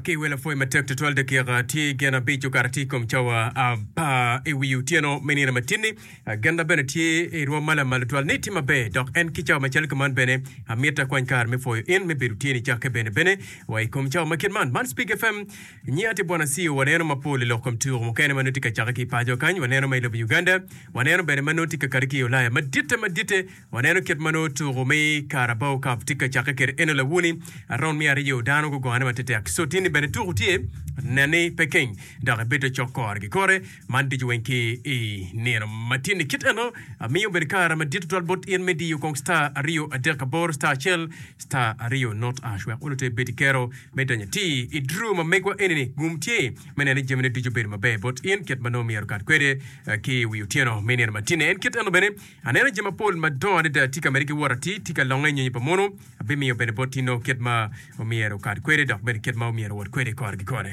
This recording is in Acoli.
Ki wel apwoyo matek tutwal dakika tye gin abic okato tye i kom cawa apar i wi otyeno me nino matinni. Genna bene tye i rwom ma lamal tutwal ni tye maber dok en ki cawa macalo kuman bene amito akwany kare me pwoyo in me bedo tye nicakke bene bene wa i kom cawa ma kit man. Man Speak FM nyiya tye Bwana Sio waneno mapol i lok kom tuko mukene ma nongo tye ka cakke ki i paco kany waneno ma i lobo Uganda waneno bene ma nongo tye ka kati ki i Ulaya maditte maditte Waneno kit ma nongo tuko me Carabao Cup tye ka cakke kwede. Eno lawoni round me aryo dano gugone matetek. So tye-ni bene tuko tye nen ni pe keng dok ibedo cok kore ki kore. Man ducu weng ki i nino ma tye-ni. Kit eno amiyo bene kare madit tutwal bot in me diyo kong star aryo adek aboro star acel star aryo not ash wek olo te ibed ki kero me donyo atir i draw ma megwa eni-ni. Gum tye me neno ni jamine ducu obedo maber bot in kit ma nongo myero okat kwede ki i wi otyeno me nino ma tye-ni. En kit eno bene Aneno jami mapol madongo adada tye ka medde ki wot atir, tye ka longe i nyonyo pa mono. Abimiyo bene bot tino kit ma omyero okat kwede, dok bene kit ma omyero owot kwede kore ki kore.